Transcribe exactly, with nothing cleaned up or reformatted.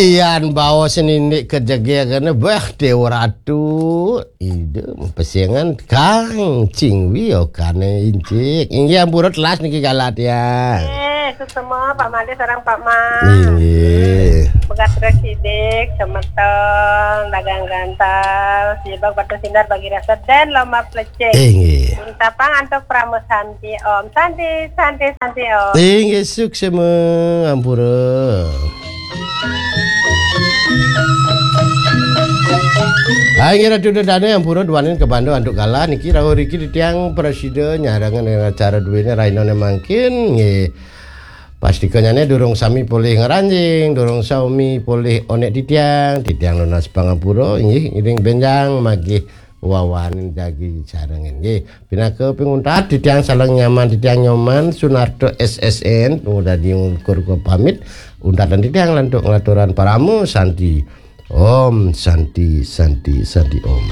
Ian bawa senindik kejege kene, bah, Dewa Ratu. Ide pesengan Kang Cingwi okane incik. Inggih, ampura telas niki galah tiang. Eh, suksema Pak Made sareng Pak Mas. Inggih. Pegat terus sidik, semeton, dagang gantal, sibak batu sinar bagi rasa dan lomba plecing. Inggih. Untapang antuk Pramu Santi Om. Santi, Santi, Santi Om. Inggih, suksema, ampura. Ah, inggih Ratu Dedane, ampura duaning kabanda antuk galah niki rawuh riki titiang prasida nyarengan ring acara duene rainane mangkin, nggih. Pastikanyane durung sami polih ngranjing, durung sami polih onek titiang, titiang nunas pangapura, inggih, ngiring benjang magih wawanin jagi sarengin, nggih. Pinaka pinguntat titiang sareng Nyoman, titiang Nyoman Sunarta S S N, dadi ngukur pamit, untatan titiang lantuk ngaturan parama santi. Om Santi, Santi, Santi Om.